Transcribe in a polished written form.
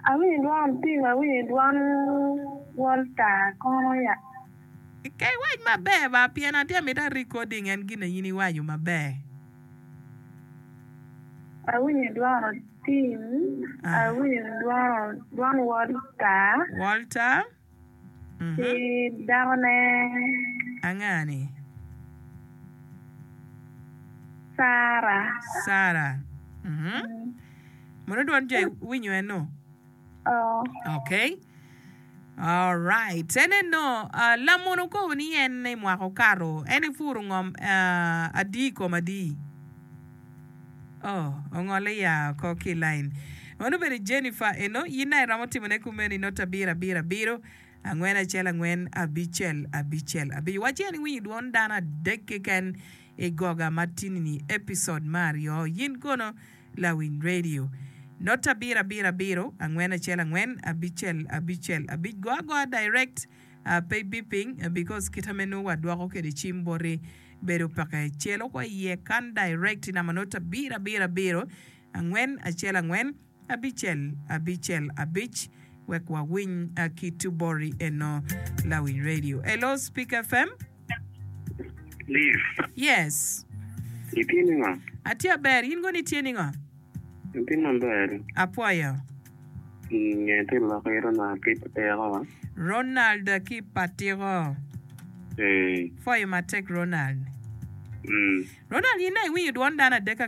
Awinyo dwon Tim, awinyo dwon Walter kono ya. Ka iwac maber ba, pien atye amito a recording en gin in iwaco maber. Awinyo dwon Tim, awinyo dwon Walter. Walter. Ki dakone. Anga-ni? Sara. Sara. Mono dwon jo iwinyo eno? Oo. Okay. Alright. En eno, uh, lamon okobo ni en i mwaka okato, en ipuro ngom uh, adi i kom adi? Oh, ongole ya oko ki i lain. Meno obedo Jennifer eno, in aye iromo timone kumeno i nota abiro abiro abiro, angwen acel angwen abicel abicel abic. Waci en iwinyo dwon dano adek keken i goga ma tini-ni, episode me aryo. Yin kono lawiny radio. Nota abiro abiro abiro, angwen acel angwen abicel abicel abic. Go agoa direct, uh, pe ibiping because kita me nongo wadwoko kede cim boti. Bedo peke. Cel oko iye kan direct namba not abiro abiro abiro angwen acel angwen abicel abicel abic wek wawiny ki bori eno lawiny radio. Hello speak FM. Liz. Yes. Itye ningo? Atye aber, in kono itye ningo? Atye maber. Apwoyo. Nge tye lok ki Ronald ki Patiko. Ronald ki Patiko. Ee. Pwoyo matek Ronald. Mm. Ronald in dong iwinyo dwon dano adek.